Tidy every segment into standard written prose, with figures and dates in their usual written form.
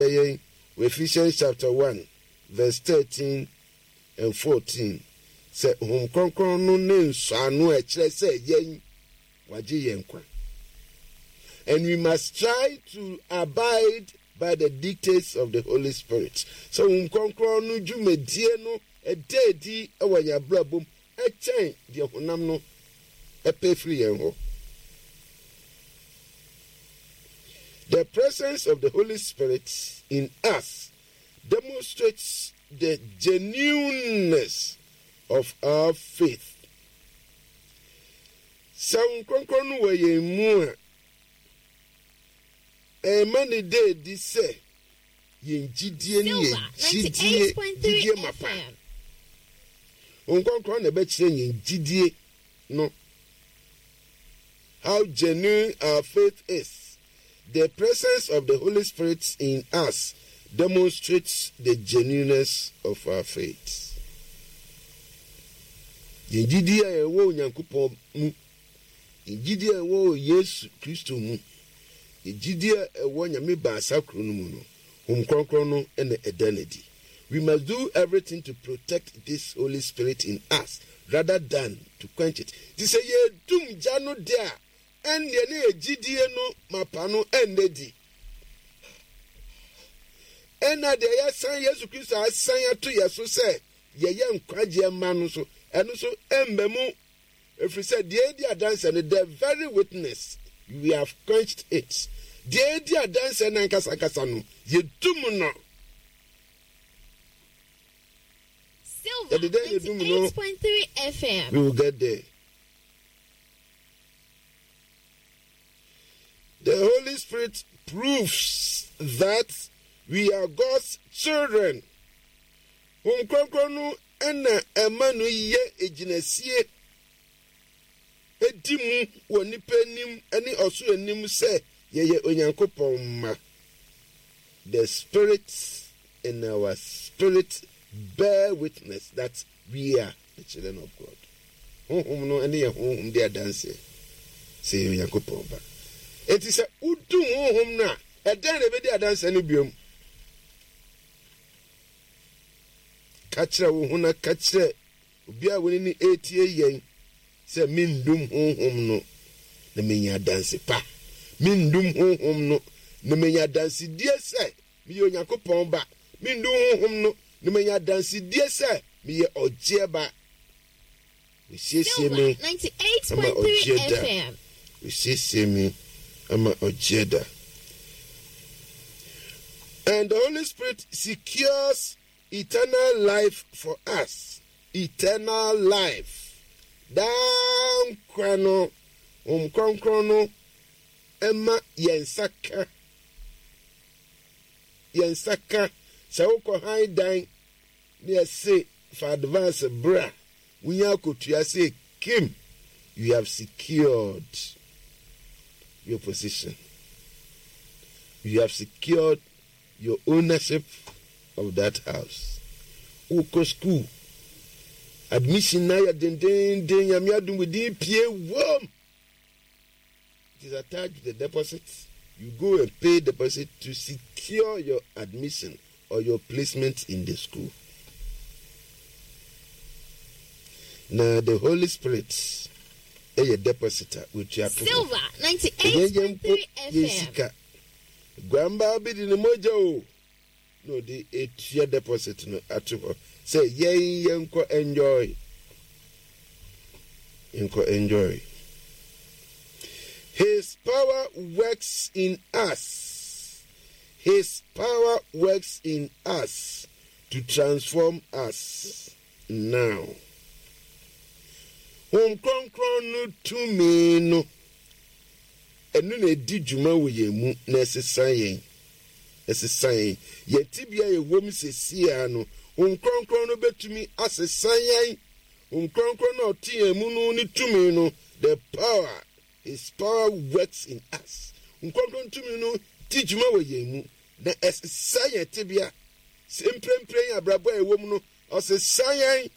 yɛn wɔ Ephesians chapter 1 verse 13 and 14 sɛ Honhom Kronkron no ne nsɔano a ɛkyerɛ sɛ yɛn wagye yɛn nkwa. And we must try to abide by the dictates of the Holy Spirit. Sɛ Honhom Kronkron no dwumadie no ɛda adi wɔ yɛn abrabɔ mu ɛkyɛn deɛ honam no ɛpɛ firi yɛn hɔ. The presence of the Holy Spirit in us demonstrates the genuineness of our faith. Sɛ Honhom Kronkron no wɔ yɛn mu a, ɛma ne da adi sɛ yɛn gyidie no yɛ gyidie gyidie mapa. Honhom Kronkron na ɛbɛkyerɛ yɛn gyidie no. How genuine our faith is. The presence of the Holy Spirit in us demonstrates the genuineness of our faith. Yɛn gyidie a yɛwɔ Onyankopɔn mu, yɛn gyidie a ɛwɔ Yesu Kristo mu, yɛn gyidie a ɛwɔ Nyame baasa koro no mu no, Honhom Kronkron no na ɛda no adi. We must do everything to protect this Holy Spirit in us rather than to quench it. Nti sɛ yɛdum gya no de a, ɛnneɛ ne yɛ gyidie no mapa no ɛnnɛ di. Ɛna deɛ yɛasan Yesu Kristo asan ato yɛ so sɛ yɛyɛ nkwagyeɛ mma no nso, ɛno nso ɛmma mu. Ɛfiri sɛ deɛ ɛdi adanseɛ no, the very witness, we have quenched it. Deɛ ɛdi adanseɛ no ankasa ankasa no, yɛdum no. Silver Yɛde dɛn na ɛdum no? 98.3 FM. We will get there. The Holy Spirit proves that we are God's children. Honhom Kronkron no na ɛma no yɛ gyinasie di mu wɔ nnipa anim ne ɔsoro anim sɛ yɛyɛ Onyankopɔn mma. The Spirit in our spirit bear witness that we are the children of God. Honhom no ne yɛn honhom di adanseɛ sɛ yɛyɛ Onyankopɔn ba. Enti sɛ wodum honhom no a, ɛdɛn na ɛbɛdi adanseɛ no biom? Ka kyerɛ wo ho na ka kyerɛ obi a wo ne no retie yɛn sɛ mendum honhom no na menya adanse pa. Mendum honhom no na menya adansedie sɛ meyɛ Onyankopɔn ba. Mendum honhom no na menya adansedie sɛ meyɛ ɔgyeɛ ba. Wɔasiesie Silver me ama 98.3 ɔgyeɛ da. FM. Wɔasiesie me ama ɔgyeɛ da. And the Holy Spirit secures eternal life for us. Eternal life. Daa nkwa no, Honhom Kronkron no ɛma yɛn nsa ka. Yɛn nsa ka. Sɛ wokɔ han dan ne yɛse fa advance bra, Wonya akotua sɛ kim, you have secured your position. You have secured your ownership of that house. Wokɔ school, admission na yɛ dendenden, nyame adom wo din pie wom. It is attached to the deposit. You go and pay deposit to secure your admission or your placement in the school. Na the Holy Spirit ɛyɛ deposit a wotua to hɔ. Silver Ɛnyɛ yɛn mpo 98.3 yɛn FM. sika. Guambaa bi de ne mogya o na ɔde etua deposit no ato hɔ sɛ yɛn yɛnkɔ enjoy. Yɛnkɔ enjoy. His power works in us. His power works in us to transform us now. Honhom Kronkron no tumi no, ɛno na ɛdi dwuma wɔ yɛn mu na ɛsesa yɛn. Ɛsesa yɛn. Yɛn tebea a yɛwɔ mu seesei ara no, Honhom Kronkron no bɛtumi asesa yɛn. Honhom Kronkron no a ɔte yɛn mu no ne tumi no, the power, His power works in us. Honhom Kronkron tumi no di dwuma wɔ yɛn mu na ɛsesa yɛn tebea. Sɛ mprempren abrabɔ a yɛwɔ mu no, ɔsesa yɛn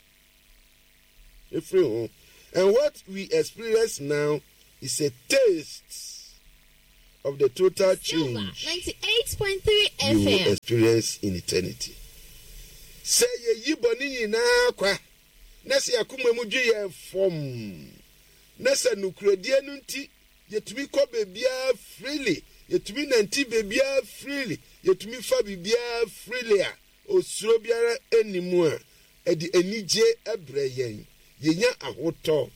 ɛfiri ho. And what we experience now is a taste. of the total Silver change 98.3 you will FM. experience in eternity. Sɛ yɛyi bɔne nyinaa kwa, na sɛ yɛn akoma mu dwe yɛn fɔmm, na sɛ nokorɛdie no nti yɛtumi kɔ baabiara freely, yɛtumi nante baabiara freely, yɛtumi fa biribiara freely a osuro biara nni mu a, ɛde anigye brɛ yɛn. Yɛnya ahotɔ.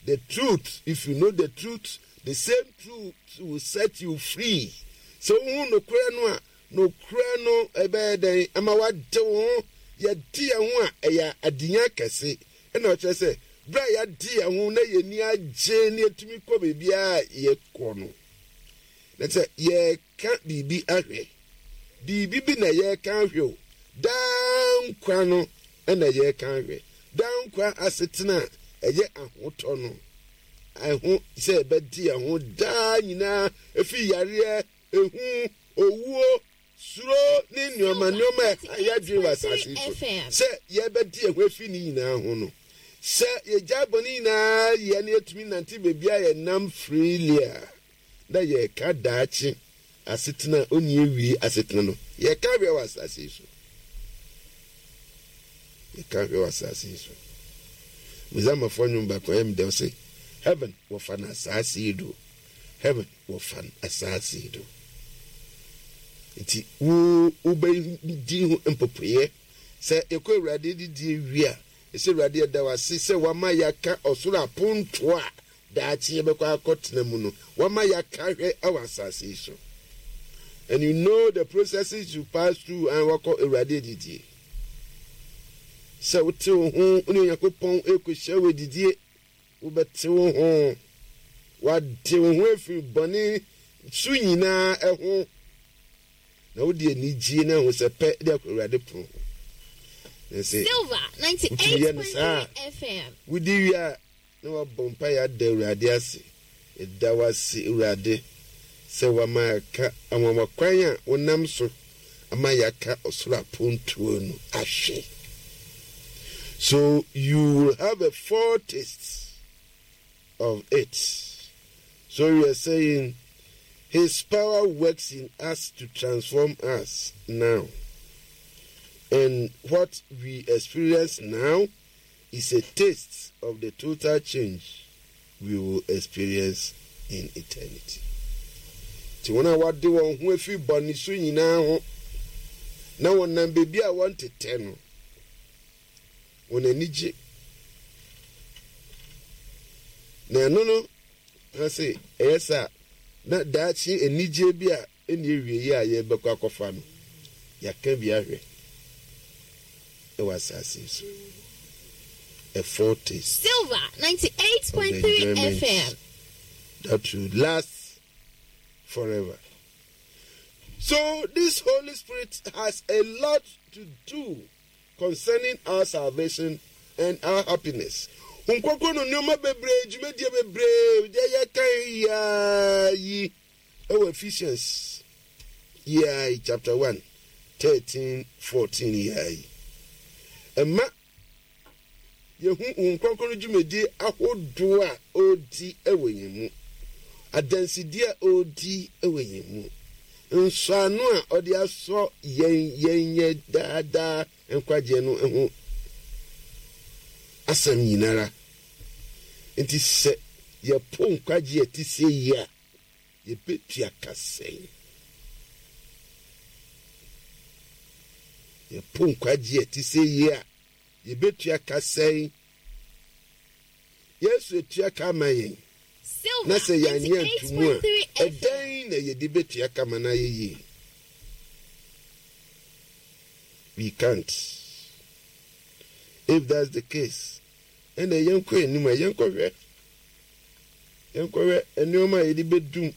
The truth, if you know the truth, the same truth will set you free. Sɛ wohu nokorɛ no a, nokorɛ no ɛbɛyɛ dɛn ama woade wo ho? Yɛde yɛn ho a, ɛyɛ adenya kɛse. Ɛna ɔkyerɛ sɛ, berɛ a yɛade yɛn ho na yɛn ani agye na yɛtumi kɔ baabiara a yɛkɔ no, na sɛ yɛreka biribi ahwɛ, biribi bi na yɛreka ahwɛ o, daa nkwa no na yɛreka ahwɛ. Daa nkwa asetena a ɛyɛ ahotɔ no, ɛho sɛ yɛbɛde yɛn ho daa nyinaa efi yareɛ, ehu, owuo, suro ne nneɛma nneɛma a ɛha yɛn adwene wɔ asase yi so, sɛ yɛbɛde yɛn ho afi ne nyinaa ho no. Sɛ yɛgyae bɔne nyinaa yɛ na yɛtumi nante baabi a yɛnam freely a, na yɛreka daakye asetena a onni awiei asetena no, yɛka hwɛ wɔ asase yi so. Yɛka hwɛ wɔ asase yi so. Muzamafo nnwom baako ɛyɛ me dɛ ɔse, Heaven wɔfa no asase yi do. Heaven wɔfa no asase yi do. Nti wo wobɛdi ho mpopoeɛ sɛ yɛkɔ Awurade didie wie a, ɛsɛ Awurade yɛda wo ase sɛ wama yɛaka ɔsoro apontoɔ a daakye yɛbɛkɔ akɔtena mu no, wama yɛaka hwɛ wɔ asase yi so. And you know the processes you pass through and wakɔ Awurade adidie. Sɛ wote wo ho ne Onyankopɔn rekɔhyia wɔ adidie, wobɛte wo ho, wade wo ho afiri bɔne su nyinaa ho, na wode anigye ne ahosɛpɛ de akɔ Awurade pono ho. Na sɛ Silver wotumi yɛ no saa a, 98.3 FM. wodi wie a, Na wabɔ mpaeɛ ada Awurade ase. Yɛda wo ase, Awurade, sɛ woama yɛaka anwanwa kwan a wonam so ama yɛaka ɔsoro apontoɔ no ahwɛ. So you will have a foretaste of it. So we are saying his power works in us to transform us now. And what we experience now is a taste of the total change we will experience in eternity. Nti wɔn a wɔade wɔn ho afiri bɔne su nyinaa ho na wɔnam baabi a wɔntetɛ no, wɔn ani gye. Na ɛno no, ha se ɛyɛ saa na daakye anigye bi a Ɛnni awieeɛ a yɛrebɛkɔ akɔfa no, yɛaka bi ahwɛ wɔ asase yi so. A foretaste Silver of the 98.3 enjoyment FM. that will last forever. So this Holy Spirit has a lot to do concerning our salvation and our happiness. Honhom Kronkron no nneɛma bebree, dwumadie bebree, deɛ yɛkan yiaa yi Ɛwɔ Ephesians yi ara yi chapter 1, 13, 14 yi ara yi. Ɛma yɛhu Honhom Kronkron no dwumadie ahodoɔ a ɔredi wɔ yɛn mu, adansedie a ɔredi wɔ yɛn mu, nsɔano a ɔde asɔ yɛn yɛn yɛ daadaa nkwagyeɛ no ho asɛm nyinara. Nti sɛ yɛpo nkwagyeɛ a ɛte sei yi a, Yɛbɛtua ka sɛn? Yɛpo nkwagye a ɛte sɛ yi a, yɛbɛtua ka sɛn? Yesu atua ka ama yɛn, Silver na sɛ yɛanyɛ anto mu a, 98.3 FM. ɛdɛn na yɛde bɛtua ka ma no ayɛ yie? We can't. If that's the case, ɛnna yɛnkɔ anim a yɛnkɔhwɛ Yɛnkɔhwɛ nneɛma a yɛde bɛdum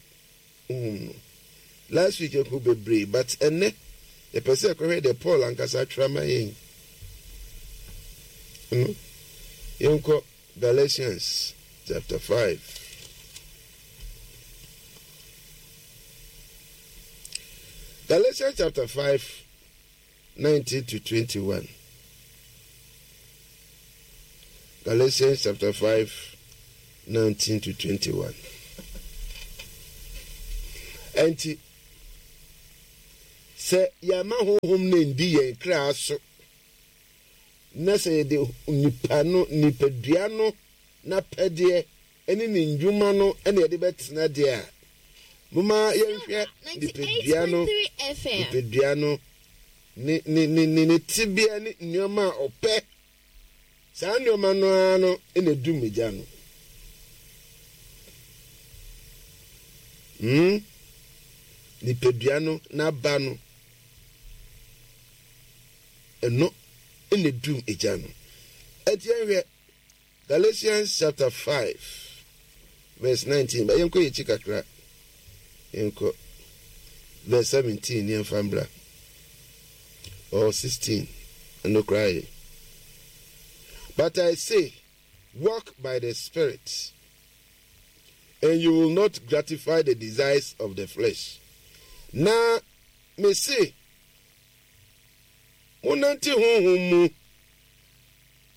honhom no. Last week yɛkɔɔ bebree but ɛnnɛ yɛpɛ sɛ yɛkɔhwɛ deɛ Paul ankasa atwerɛ ama yɛn. No, yɛnkɔ Galatians chapter 5. Galatians chapter 5, 19 to 21. Galatians chapter 5, 19 to 21. Ɛnti, sɛ yɛama honhom no ndi yɛn kra so, na sɛ yɛde nipa no, nipadua no n'apɛdeɛ ne ne nnwuma no na yɛde bɛtena deɛ a, momma yɛnhwɛ nipadua no, nipadua no, ne, ne, ne, ne, ne tebea ne nneɛma a ɔpɛ. Saa nneɛma no ara no na edum gya no. Hmm? Nipadua no n'aba no, ɛno na edum gya no. Ɛti yɛnhwɛ Galatians chapter 5 verse 19. Ba yɛnkɔ yɛkyi kakra. Yɛnkɔ verse 17 yɛmfa mbra. Or 16. Ɛno koraa yɛ. But I say, walk by the Spirit, and you will not gratify the desires of the flesh. Na me se, monante honhom mu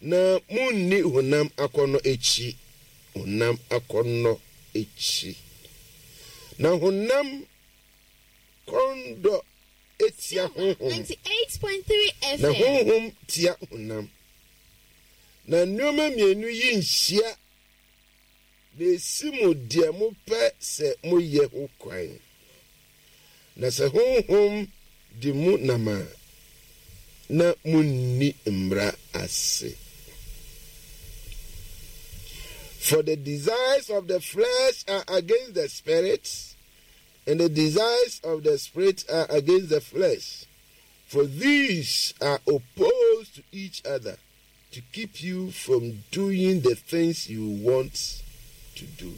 Na munni honam akɔnnɔ akyi, honam akɔnnɔ akyi. Na honam kɔndɔ tia honhom, na honhom tia honam. Na nneɛma mmienu yi nhyia, na esi mo deɛ mopɛ sɛ moyɛ ho kwan. Na sɛ Honhom de mo nam a, na munni mmara ase. For the desires of the flesh are against the spirit, and the desires of the spirit are against the flesh. For these are opposed to each other to keep you from doing the things you want to do.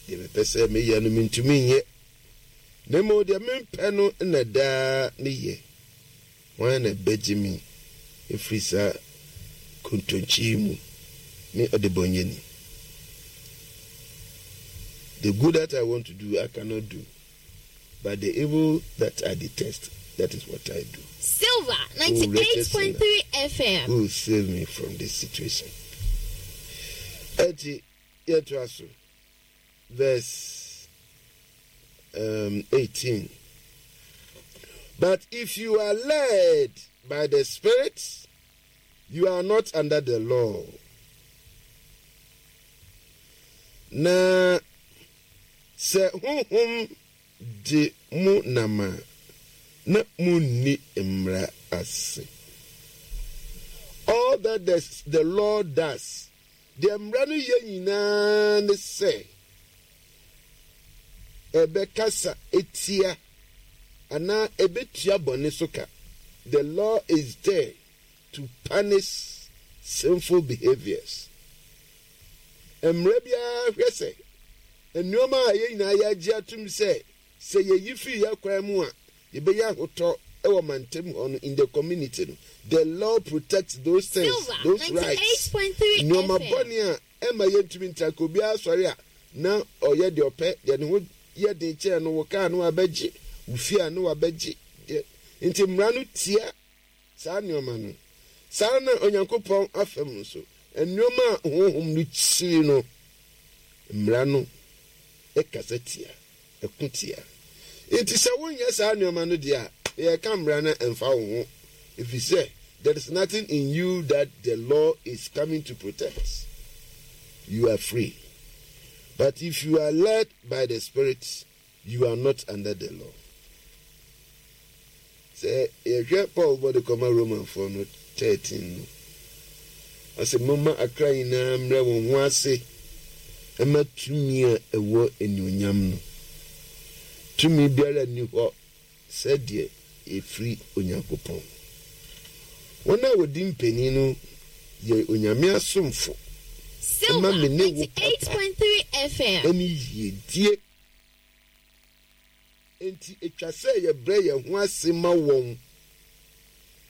Deɛ mepɛ sɛ meyɛ no mentumi nyɛ, na mmom deɛ mempɛ no na daa meyɛ. Hwan na ɛbɛgye me afiri saa kontonkye yi mu, me ɔdebɔnyɛni? The good that I want to do, I cannot do. But the evil that I detest, that is what I do. Silver 98.3 FM. Who will save me from this situation? Eti yɛtoa so verse um, 18. But if you are led by the Spirit, you are not under the law. Na Sɛ Honhom de mo nam a, na munni mmara ase. All that the, the law does, deɛ mmara no yɛ nyinaa ne sɛ ɛbɛkasa etia anaa ɛbɛtua bɔne so ka. The law is there to punish sinful behaviors. Mmara biara hwɛ sɛ nneɛma a yɛn nyinaa yɛagye atom sɛ sɛ yeyi fi yɛn kwan mu a yɛbɛnya ahotɔ wɔ mantam hɔ no, in the community no, the law protects those things, those rights. Nneɛma bɔne a ɛma yɛntumi ntra ka obiara sɔre a na ɔyɛ deɛ ɔpɛ, deɛ ne ho yɛ den kyɛn no, wo kaa no wabɛgye, wo fie a no wabɛgye. Nti mmara no tia Saa nneɛma no. Saa ara na Onyankopɔn afam nso, nneɛma a honhom no kyiri no, mmara no kasa tia, ɛko tia. Enti sɛ wonyɛ saa nneɛma no deɛ a, yɛreka mmara no a, ɛmfa wo ho, efisɛ there is nothing in you that the law is coming to protect. You are free. But if you are led by the Spirit, You are not under the law. Sɛ yɛhwɛ Paul bɔ de kɔma Romanfoɔ no 13 no, ɔsɛ momma akra nyinaa mmerɛ wɔn ho ase ɛma tumi a ɛwɔ anuonyam no. Tumi biara nni hɔ sɛdeɛ ɛfiri Onyankopɔn. Wɔn a wɔdi mpanin no yɛ Onyame asomfo ma me ne wo papa ne yiedie. Enti ɛtwa sɛ yɛbrɛ yɛn ho ase ma wɔn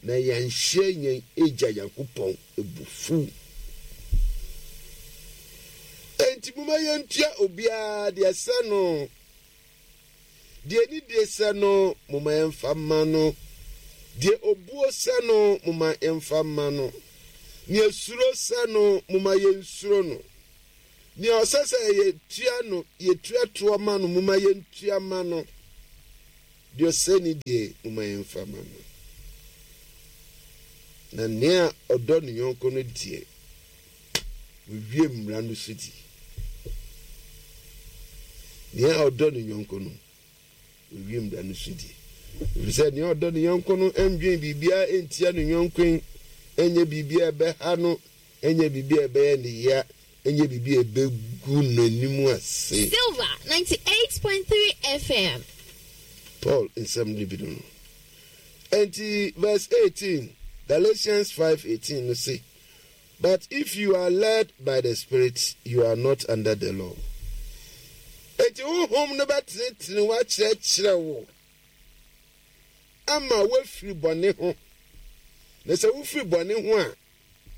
na yɛanhyɛ yɛn Agya Nyankopɔn abufuw. Enti momma yɛntua obiara deɛ ɛsɛ no. Deɛ anidie sɛ no, momma yɛmfa mma no. Deɛ obuo sɛ no, momma yɛmfa mma no. Deɛ suro sɛ no, momma yɛnsuro no. Nea ɔsɛ sɛ yɛtua no, yɛtua toɔ ma no, momma yɛntua ma no. Deɛ ɔsɛ ne die, momma yɛmfa ma no. Na nea ɔdɔ ne yɔnko no deɛ, wawie mmara no so di. Nea ɔdɔ ne yɔnko no, Owie mmara no so di. Ɛfiri sɛ nea ɔdɔ ne yɔnko no ndwen biribiara ntia ne yɔnko, ɛnyɛ biribi a ɛbɛha no, ɛnyɛ biribi a ɛbɛyɛ ne ya, ɛnyɛ biribi a ɛbɛgu n'anim ase. Silver 98.3 FM. Paul nsɛm no bi no no. Enti verse 18, Galatians 5:18 no se, But if you are led by the Spirit, you are not under the law. Enti honhom no bɛtenetene wo akyerɛkyerɛ wo ama woafiri bɔne ho. Na sɛ wofiri bɔne ho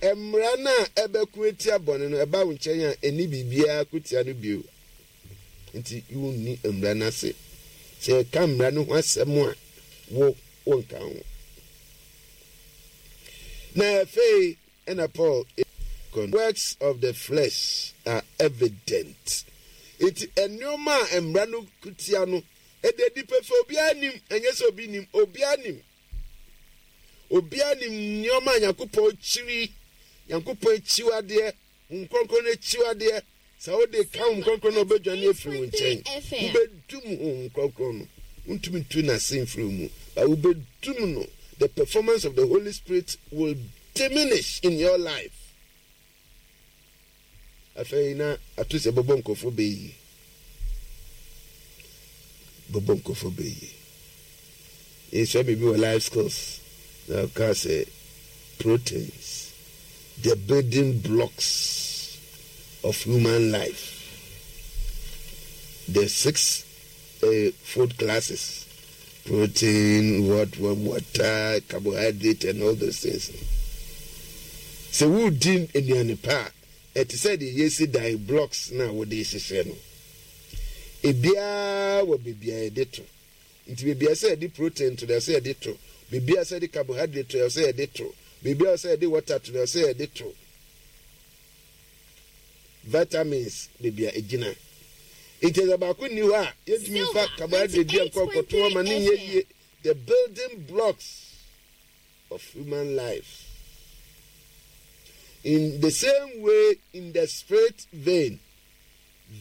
a, mmara no a ɛbɛko atia bɔne no, ɛba wo nkyɛn a, ɛnni biribiara ko tia no bio. Nti wonni mmara no ase. Sɛ yɛka mmara no ho asɛm a, wo wonka ho. Na afei ɛna Paul kɔ works of the flesh are evident. Nti nneɛma a mmara no kutia no, ɛda adi pefee, obiara nim, ɛnyɛ sɛ obi nim, obiara nim. Obiara nim nneɛma a Nyankopɔn kyiri, Nyankopɔn akyiwadeɛ, Honhom Kronkron no akyiwadeɛ. Sɛ wode ka Honhom Kronkron no a, ɔbɛdwane afiri wo nkyɛn. Wobɛdum Honhom Kronkron no. Wontumi ntu n'ase mfiri wo mu, but wobɛdum no. The performance of the Holy Spirit will diminish in your life. Afei na ato sɛ bɛbɔ nkurɔfoɔ bɛ yie. Bɛbɔ nkurɔfoɔ bɛ yie. Yɛsua biribi wɔ life skills na ɔkaa sɛ proteins, the building blocks of human life, the six uh, food classes, protein, what, what, water, carbohydrate and all those things. Sɛ wodi nnuane pa a, ɛte sɛ deɛ yɛsi dan blocks na wode hyehyɛ no. Ebiara wɔ baabi a yɛde to. Nti baabi a ɛsɛ yɛde protein to no, ɛsɛ yɛde to. Baabi a ɛsɛ yɛde carbohydrate to, ɛsɛ yɛde to. Baabi a ɛsɛ yɛde water to no, ɛsɛ yɛde to. Vitamins, baabi a egyina. Nti sɛ baako nni hɔ a, yɛntumi mfa carbohydrate bi nkɔ nkɔto hɔ ma ne nyɛ yie. The building blocks of human life. In the same way, in the spirit vein,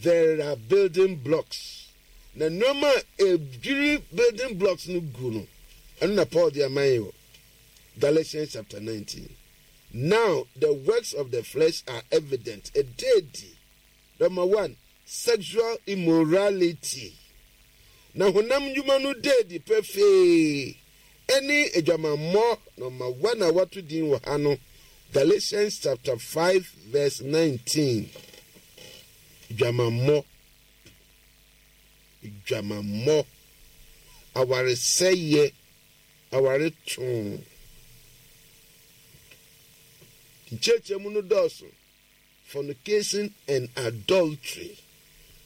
There are building blocks. Na nneɛma a edwiri building blocks no gu no, ɛno na Paul de ama yɛn wɔ Galatians chapter 19. Now the works of the flesh are evident. Ɛda adi. Number one, sexual immorality. Na honam nnwuma no da adi pefee. Ɛne adwamammɔ, number one a wɔato din wɔ ha no, Galatians chapter 5 verse 19. Dwamammɔ, dwamammɔ, awaresɛeɛ, awaretoo. Nkyerɛkyerɛmu no dɔɔso. Fornication and adultery,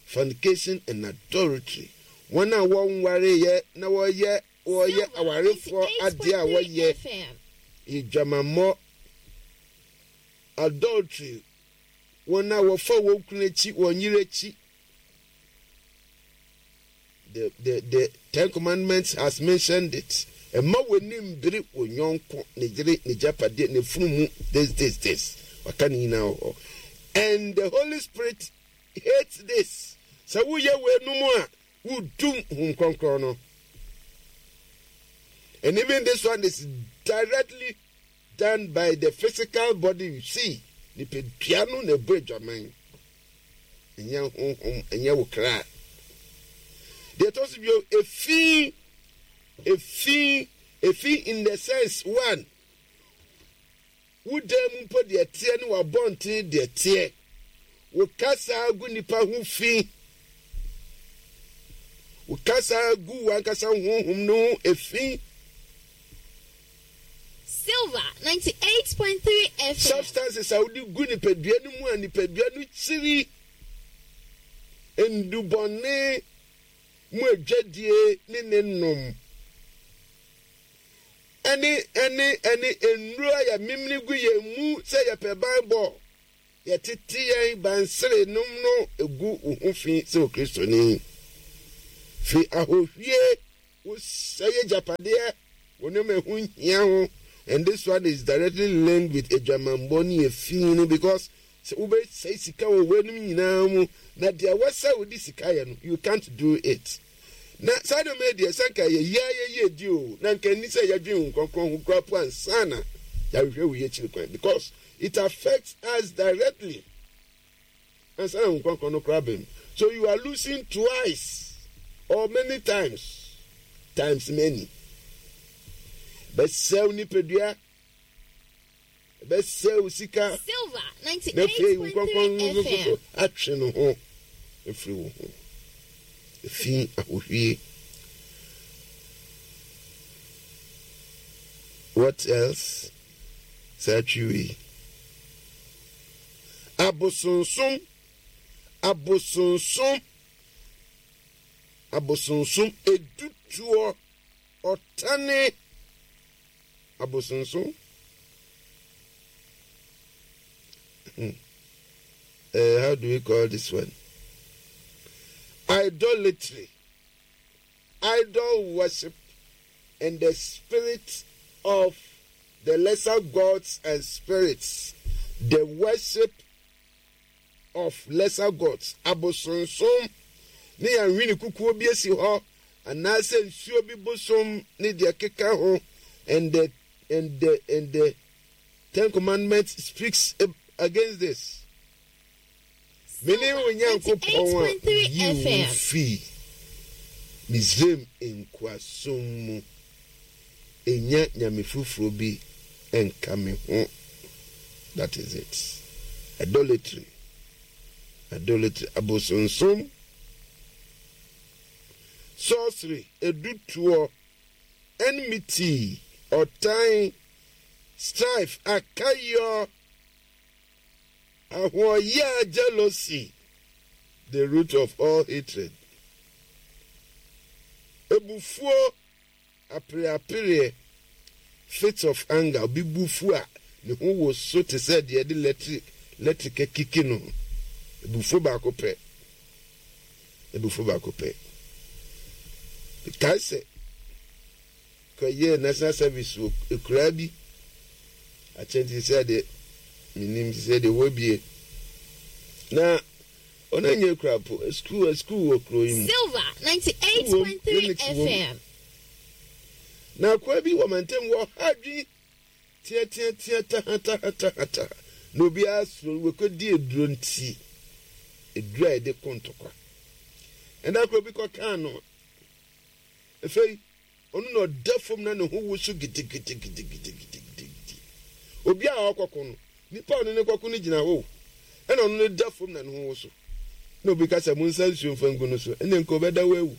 fornication and adultery. Wɔn a wɔnwareeɛ na wɔyɛ wɔyɛ awarefoɔ adeɛ a wɔyɛ adwamammɔ, adultery, wɔn a wɔfa wɔn kunu akyi, wɔn yere akyi. The, the, the Ten Commandments has mentioned it. Ɛma w'ani mbere wo yɔnko, ne yere, ne gyapadeɛ, ne funu mu, this, this, this. Waka ne nyinaa wɔ hɔ. And the Holy Spirit hates this. Sɛ woyɛ weinom a, wodum Honhom Kronkron no. And even this one is directly done by the physical body you see. Nipadua no na ɛbɔ adwaman. Ɛnyɛ honhom, ɛnyɛ wo kra. Deɛ ɛtɔ so bio, efi, efi, efi in the sense one, Wo dan mu mpo deɛ ɛteɛ ne w'abɔnten deɛ ɛteɛ. Wo kasa gu nnipa ho fi. Wo kasa gu w'ankasa honhom no ho efi. Silver 98.3 FM. Substances a wode gu nipadua no mu a nipadua no kyiri. Nnubɔne mu adwadie ne ne nom. Ɛne, ɛne, ɛne nnuro a yɛmemene gu yɛn mu sɛ yɛpɛ banbɔ. yɛtete yɛn bansere nom no egu wo ho fi sɛ Okristoni. Fi ahohwie, wosɛe agyapadeɛ wɔ nneɛma a ɛho nhia ho, and this one is directly linked with adwamammɔ ne efi no because sɛ wobɛsɛe sika wɔ weinom nyinaa mu na deɛ ɛwɔ sɛ wode sika yɛ no you can't do it. Na saa nneɛma yi deɛ, sɛ anka ɛyɛ yie ara yɛyie di o, na anka ɛnni sɛ yɛdwen Honhom Kronkron ho koraa po ansa na yɛahwehwɛ wei akyiri kwan because it affects us directly ansa na Honhom Kronkron no koraa bɛm. So you are losing twice or many times times many. Bɛsɛe wo nipadua. Ɛbɛsɛe wo sika, na afei wo kronkron no nso so atwe ne ho afiri wo ho. Efi ahohwie. What else? Saa twi wei. Abosonsom, abosonsom, abosonsom, edutuo, ɔtane. Abosonsom. Hmm. How do we call this one? Idolatry, idol worship, and the spirit of the lesser gods and spirits. The worship of lesser gods, abosonsom ne anwene kukuo bi asi hɔ anaasɛ nsuo bi bosom ne deɛ ɛkeka ho and the and the and the Ten Commandments speaks against this. Mene wo Nyankopɔn a meyii wo fii Misraim nkoasom mu. Nnya nyame foforɔ bi nka me ho. That is it. Idolatry. Idolatry. Abosonsom. Sorcery. Edutoɔ. Enmity. Ɔtan. Strife. Akayɔ. Ahoɔyaa. Jealousy. The root of all hatred. Ebufuo. Apereapereɛ, fits of anger, obi bo fu a, ne ho woso te sɛ deɛ yɛde lɛtrik lɛtrik akiki no. Abufuo baako pɛ. Abufuo baako pɛ. Mekae sɛ kɔyɛɛ national service wɔ akuraa bi akyɛ nti sɛ deɛ menim sɛ deɛ wɔabie na Ɔno ɛnyɛ kura po sukuu sukuu wɔ kuro yi mu. Silver Sukuu wom, 98.3 clinics wom. FM. Na akoa bi wɔ mantam wɔ ha adwene teateatea tahatahataha na obiara suro no wɔkɔdi aduro nti aduro a yɛde ko ntɔkwa. Ɛda koro bi kɔkaa no afei Ɔno na ɔda fam na ne ho woso gidigidigidigidigidi. Obi a ɔkɔko no, nipa a ɔne no kɔko no gyina hɔ o, ɛna ɔno no da fam na ne ho woso. Na obi ka sɛ, Monsa nsuo mfa ngu no so, ɛnna nka ɔbɛda hɔ awu.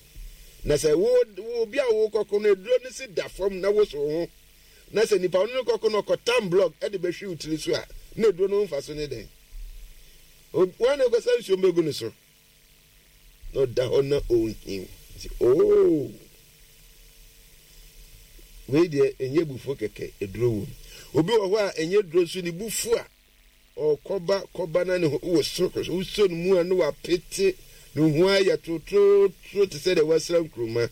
Na sɛ wo, wo obi a wokɔko no, aduro no si da fam na woso wo ho, na sɛ nipa a ɔne no kɔko no ɔkɔtam blɔk de bɛhwe wo tiri so a, na aduro no ho mfaso ne dɛn? Wɔn na ɛkɔsa nsuo mbɛgu no so. Na ɔda hɔ na ɔrehu. Nti oo, wei deɛ ɛnyɛ abufuo kɛkɛ, aduro wom. Obi wɔ hɔ a ɛnyɛ duro nso ne bu fu a, ɔkɔba kɔba na ne ho wɔ soro wosɔ ne mu a na wapete ne ho ayɛ torotoro te sɛ deɛ wasra nkuruma.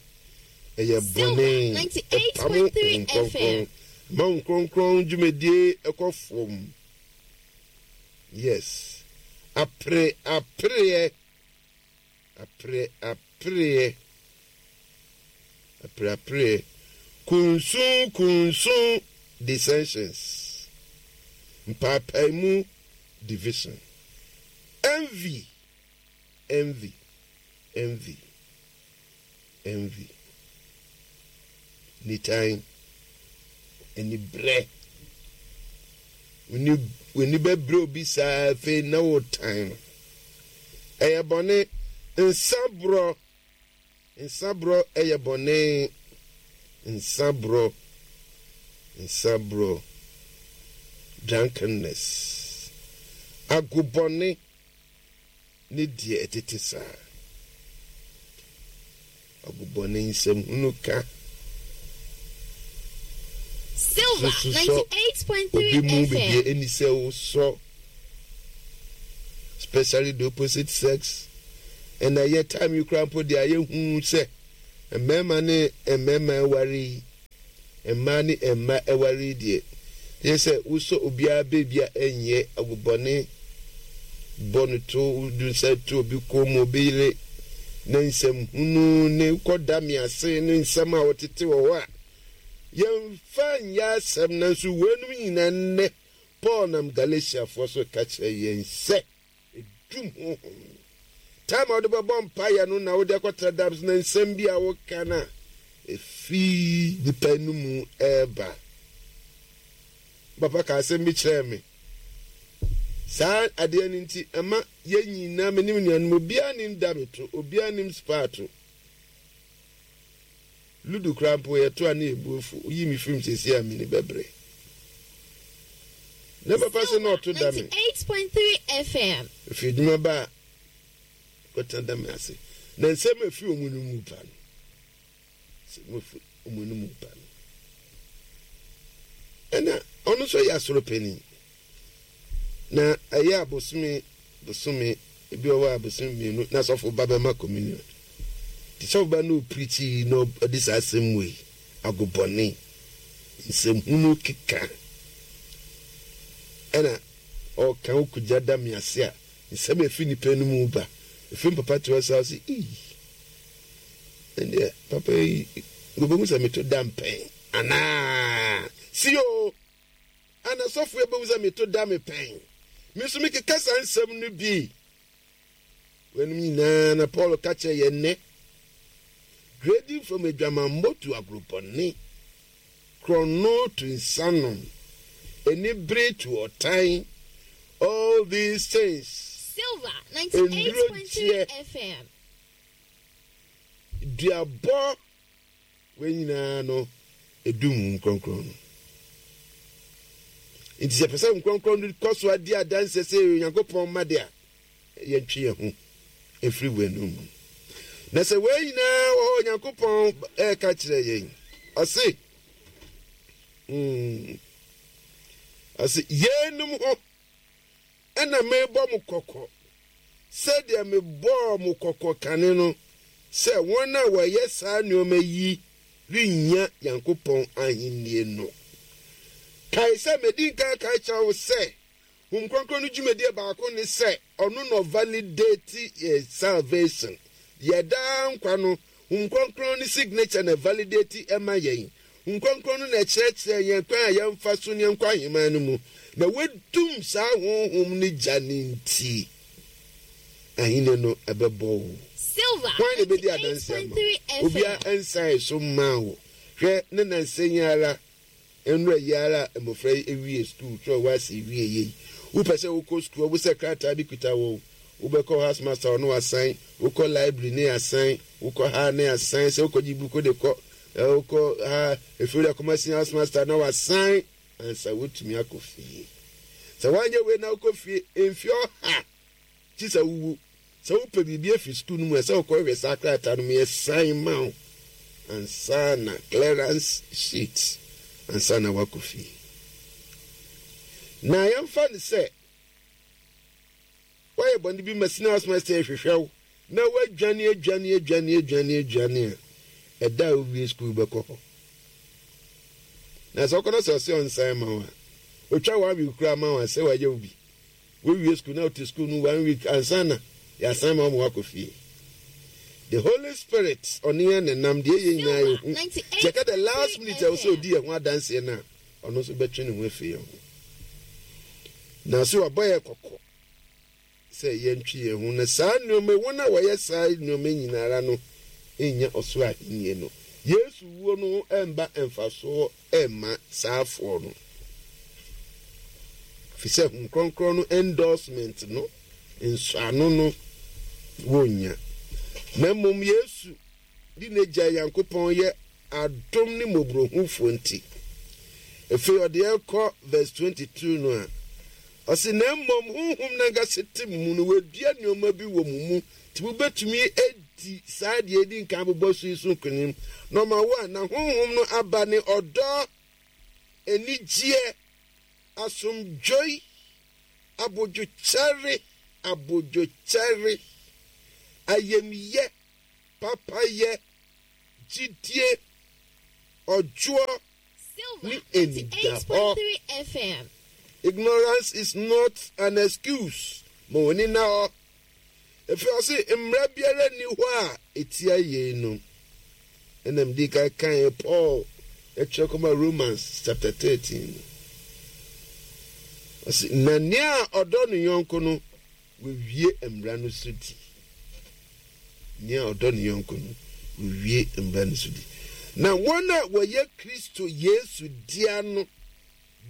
Ɛyɛ bɔne, ɛpamo Honhom Kronkron, ma Honhom Kronkron dwumadie ɛkɔ fam. Yes apere apereɛ apere apereɛ apere apereɛ kunsun kunsun dissensions mpaapaemu division envy envy envy. Envy, nitan, anibrɛ. W'ani w'ani bɛbrɛ obi saa afei na wotan no. Ɛyɛ bɔne. Nsaborɔ, nsaborɔ ɛyɛ bɔne. Nsaborɔ, nsaborɔ, drunkenness, agobɔne. ne deɛ ɛtete saa. Agobɔne nsɛmhunu ka Silver so sosɔ 98.3 obi mu baabi a FM. ɛnni sɛ wosɔ. Especially the opposite sex. Ɛna ɛyɛ time yi koraa mpo deɛ ayɛ hu sɛ mmarima ne mmarima aware yi, mmaa ne mma aware yi deɛ, kyerɛ sɛ wosɔ obiara baabi a ɛnyɛ agobɔne bɔ no to, wodu nsa to obi kɔn mu, obi yere, ne nsɛm hunu ne kɔda me ase ne nsɛm a wɔtete wɔ hɔ a yɛmfa nyɛ asɛm nanso weinom nyinaa nnɛ Paul nam Galatiafoɔ so reka kyerɛ yɛn sɛ, Dum honhom no. Time a wode bɛbɔ mpaeɛ no na wode akɔtra dam so na nsɛm bi a woka no a ɛfiri nipa no mu ɛreba. Papa ka asɛm bi kyerɛɛ me. Saa adeɛ no nti ɛma yɛn nyinaa me ne me nuanom obiara nim dame to, obiara nim spaa to. Ludo koraa mpo yɛto a na yɛn bo afu. Woyi me firim seesei a m'ani bɛbere. Na papa se na ɔto da me. 98.3 FM. Ɛfiri adwuma ba a, kɔtena da me ase. Na nsɛm a ɛfiri wɔn anom ba no, nsɛm a ɛfiri wɔn anom ba no. Ɛna ɔno nso yɛ asɔre panin. Na ɛyɛ a bosome bosome, ebi wɔ hɔ a bosome mmienu na sɔfo ba bɛma communion. Nti sɔfo ba no ɔpreachi na ɔde saa asɛm wei, agobɔne, nsɛmhunu keka, ɛna ɔka wokogya da me ase a, nsɛm a ɛfiri nipa no mu ba. Ɛfiri papa te hɔ saa ɔse, ii, ɛndeɛ papa yi, wɔbɛhu sɛ meto da mpɛn anaa? Si o! Ana sɔfo yi behu sɛ meto da me pɛn? Me nso mekeka saa nsɛm no bi. Weinom nyinaa na Paul ka kyerɛ yɛn nnɛ. Grading from adwamammɔ to agorobɔne, korɔno to nsanom, anibere to ɔtan, all these things. Silver 98.3 FM. Duabɔ Wei nyinaa no, edum Honhom Kronkron no. Nti sɛ yɛpɛ sɛ Honhom Kronkron no kɔ so adi adanseɛ sɛ yɛyɛ Onyankopɔn mma de a, yɛntwe yɛn ho mfiri weinom mu. Na sɛ wei nyinaa wɔ hɔ, Onyankopɔn ɛreka kyerɛ yɛn, ɔse, mm, ɔse, yeinom ho Ɛnna merebɔ mo kɔkɔ sɛdeɛ mebɔɔ mo kɔkɔ kane no, sɛ wɔn a wɔyɛ saa nneɛma yi rennya Nyankopɔn ahennie no. Kae sɛ madi nkan aka akyerɛ wo sɛ, Honhom Kronkron no dwumadie baako ne sɛ ɔno na ɔvalidate yɛn salvation, yɛn daa nkwa no, Honhom Kronkron no signature na ɛvalidate ma yɛn. Honhom Kronkron no na ɛkyerɛkyerɛ yɛn kwan a yɛmfa so ne yɛnkɔ ahemman no mu. Na wɔadum saa Honhom no gya no nti, ahenni no ɛbɛbɔ wo. Silver Hwan na ebedi adanse ama wo? 98.3 Obiara FM. nsan so mmaa wo. Hwɛ, ne nnansa yi ara Nnora yi ara a mmofra yi awie sukuu kyerɛw w'ase wie yei. Wopɛ sɛ wokɔ sukuu a, wobisa krataa bi kuta wo. Wobɛkɔ housemaster hɔ na wasan, wokɔ library ne asan, wokɔ ha ne asan, sɛ wokɔgye buku de kɔ, wokɔ ha, ɛfiri de akɔma senior housemaster na wasan ansa wotumi akɔ fie. Sɛ woanyɛ wei na wokɔ fie mfe ɔha Gye sɛ wuwu. Sɛ wopɛ biribi afi sukuu no mu a, ɛsɛ sɛ wokɔhwehwɛ saa krataa no mu yɛsan ma wo ansa na clearance sheet ansa na woakɔ fie. Na yɛmfa no sɛ woayɛ bɔne bi ma senior house master rehwehwɛ wo na woadwane adwane adwane adwane adwane a, ɛda a wowie sukuu bɛkɔ hɔ. Na sɛ wokɔ na sɛ ɔsɛ ɔnsan ma wo a, otwa one week koraa ma wo a, sɛ wayɛ wo bi. Wowie sukuu na wote sukuu no one week ansa na yɛasan ma wɔn akɔ fie. The Holy Spirit ɔne yɛn nenam deɛ yɛn nyinaa yɛ hu. Nti ɛka the last minute a ɛwɔ sɛ ɔdi yɛn ho adanseɛ no a ɔno nso bɛtwe ne ho afiri yɛn ho. Na so wabɔ yɛn kɔkɔ sɛ yɛntwe yɛn ho na saa nneɛma wɔn a wɔyɛ saa nneɛma nyinara no nnya ɔsoro ahenni no. Yesu wuo no ho ɛmba mfasoɔ mma saafoɔ no, ɛfiri sɛ Honhom Kronkron no endorsement no, nsɔano no, wɔnnya. Na mmom Yesu de n'Agya Nyankopɔn yɛ adom ne mmɔborɔhufoɔ nti. Afei ɔde ɛkɔ verse 22 no a, ɔse, na mmom Honhom no ankasa te mo mu no, wadua nneɛma bi wɔ mo mu, nti mobɛtumi adi saa deɛ ɛdi nkan bobɔ so yi so nkonim. Nɔma 1, na Honhom no aba ne ɔdɔ, anigyeɛ, asomdwoe, abodwokyɛre, abodwokyɛre, ayamyɛ, papayɛ, gyidie, ɔdwoɔ, ne anidahɔ. Ignorance is not an excuse. Ma w'ani nna hɔ. Ɛfiri ɔse mmara biara nni hɔ a ɛtia yeinom. Ɛna medi kan kaeɛ Paul ɛtwerɛ kɔma Romans chapter 13 no. Ɔse na nea ɔdɔ ne yɔnko no wawie mmara no so di. Nea ɔdɔ ne yɔnko no wawie mmara no so di. Na wɔn a wɔyɛ Kristo Yesu dea no,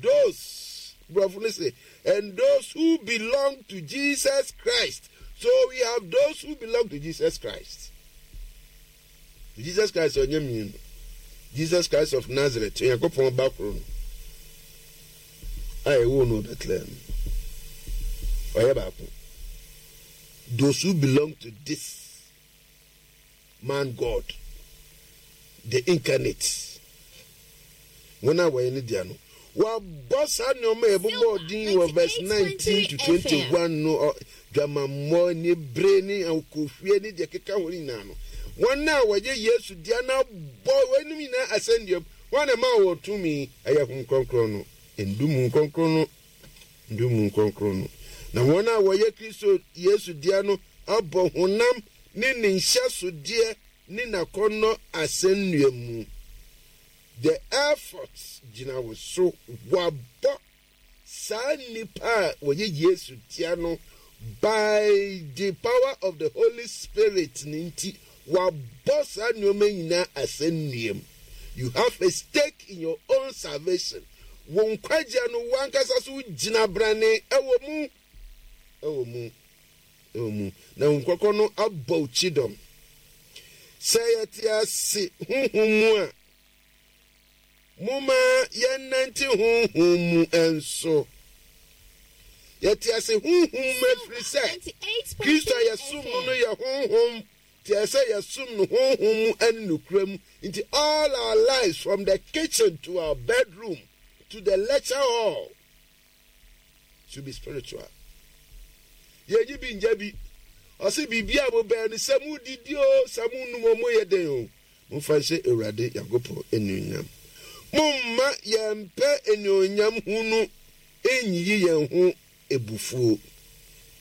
those, borɔfo no se, and those who belong to Jesus Christ. So we have those who belong to Jesus Christ. Jesus Christ ɔnyɛ mmienu. Jesus Christ of Nazareth, Onyankopɔn ba koro no a ɛwoo no wɔ Bethlehem. Ɔyɛ baako. Those who belong to this man God, the incarnate, wɔn a wɔyɛ ne dea no, wɔabɔ saa nneɛma a yɛbobɔɔ din wɔ verse 19 to 21 no, dwamammɔ ne bere ne akohwie ne deɛ keka ho no nyinaa no, wɔn a wɔyɛ Yesu dea no abɔ wɔnom nyinaa asɛnduam. Wɔn na ɛma wɔn tumi, ɛyɛ Honhom Kronkron no, ndumu kronkron no, ndumu kronkron no. Na wɔn a wɔyɛ Kristo Yesu dea no abɔ honam ne ne nhyɛsodeɛ ne n'akɔnnɔ asɛnnua mu. The effort gyina wo so. Wɔabɔ saa nnipa a wɔyɛ Yesu dea no by the power of the Holy Spirit no nti, wɔabɔ saa nneɛma nyinaa asɛnnua mu. You have a stake in your own salvation. Wo nkwagyeɛ no, wo ankasa so wogyina brane ɛwɔ mu. Ɛwɔ mu. Ɛwɔ mu. Na Honhom Kronkron no abɔ wo kyidɔm. Sɛ yɛte ase honhom mu a, momma yɛnnante honhom mu nso. Yɛte ase honhom mu ɛfiri sɛ Kristo a yɛsom no no yɛ honhom. Nti ɛsɛ sɛ yɛsom no honhom mu ne nokorɛ mu. Nti all our lives from the kitchen to our bedroom to the lecture hall should be spiritual. Yɛnyi bi ngya bi. Ɔse biribi a mobɛyɛ no sɛ modidi o, sɛ monom o, moyɛ dɛn o, momfa nhyɛ Awurade Nyankopɔn anuonyam. Momma yɛmpɛ anuonyam hunu nyiyi yɛn ho abufuo,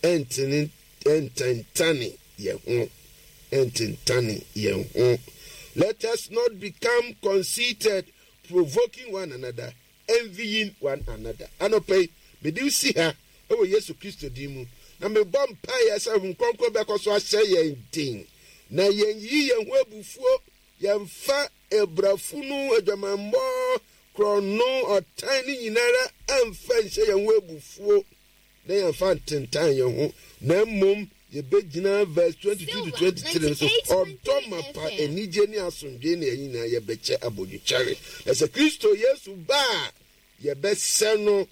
ɛntene ɛntentane yɛn ho, ɛntentane yɛn ho. Let us not become conceited, provoking one another, envying one another. Anɔpa yi, mede wo si ha wɔ Yesu Kristo din mu, na mebɔ mpaeɛ sɛ Honhom Kronkron bɛkɔ so ahyɛ yɛn den, na yɛnyiyi yɛn ho abufuo, yɛmfa brafunu, adwamammɔ, korɔno, ɔtan ne nyinara mfa nhyɛ yɛn ho abufuo, na yɛmfa ntentan yɛn ho, na mmom yɛbɛgyina verse 22 to 23 no so, ɔdɔ mapa, anigye ne asomdwoe na yɛn nyinaa yɛbɛkyɛ abodwokyɛre. Na sɛ Kristo Yesu ba a, yɛbɛsɛ no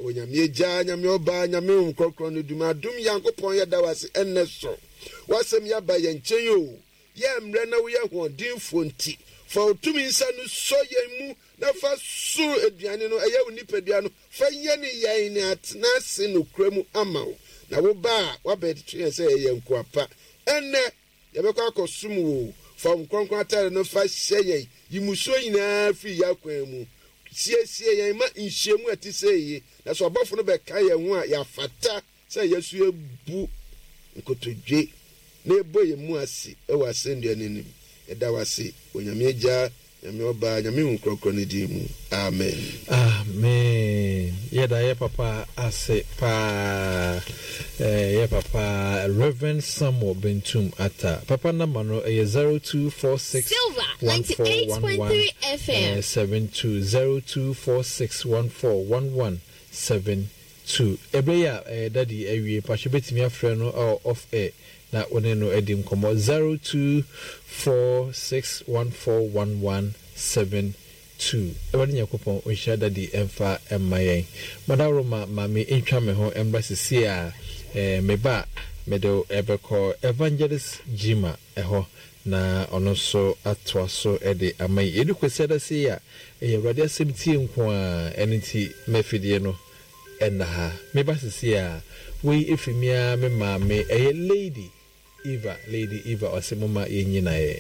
wɔ Nyame Agya, Nyame Ɔba, Nyame Honhom Kronkron no dum. Adom Nyankopɔn yɛda wo ase ɛnnɛ so. W'asɛm yi aba yɛn nkyɛn o. Yɛ mmerɛ na woyɛ hoɔdenfoɔ nti, fa wo tumi nsa no sɔ yɛn mu na fa soro aduane no, ɛyɛ wo nipadua no, Fa yɛne yɛn ne atena ase nokorɛ mu ama wo, na wo ba a woabɛto yɛn sɛ yɛyɛ nkoa pa. Ɛnnɛ, yɛbɛkɔ akɔsom wo o. Fa wo kronkron atade no fa hyɛ yɛn, yi mmusuo nyinaa firi yɛn akwan mu. Siesie yɛn ma nhyiamu a ɛte sei yi, na sɛ ɔbɔfo no bɛka yɛn ho a, yɛafata Sɛ yɛso yɛbu nkotodwe na yɛbɔ yɛn mu ase wɔ asɛnnua no anim. Yɛda wo ase wɔ Nyame Agya, Nyame Ɔba, Nyame Honhom Krɔnkrɔn no din mu. Amen. Amen yɛda yɛ papa ase paa yɛ papa Rev Samuel Bentum Atta papa number no ɛyɛ 0246 1411 72 0246 1411 72. Ɛberɛ yi a ɛyɛ daddy awie mpakyɛ wobɛtumi afrɛ no wɔ off air na wo ne no adi nkɔmmɔ 0246141172 Awurade Nyankopɔn ɔnhyira daddy mfa mma yɛn Madaworoma ma me ntwa me ho mmra sesie a me ba a mede wo bɛkɔ Evangelist Gyima hɔ na ɔno nso atoa so de ama yɛn. Yɛdu Kwasiada sei a, ɛyɛ Awurade asɛm tie nko ara, ɛno nti ma afidie no. Ɛnna ha. Meba seesei a, wei ɛfiri me ara me maame, ɛyɛ Lady Eva, Lady Eva, ɔse momma yɛnnyina yɛ.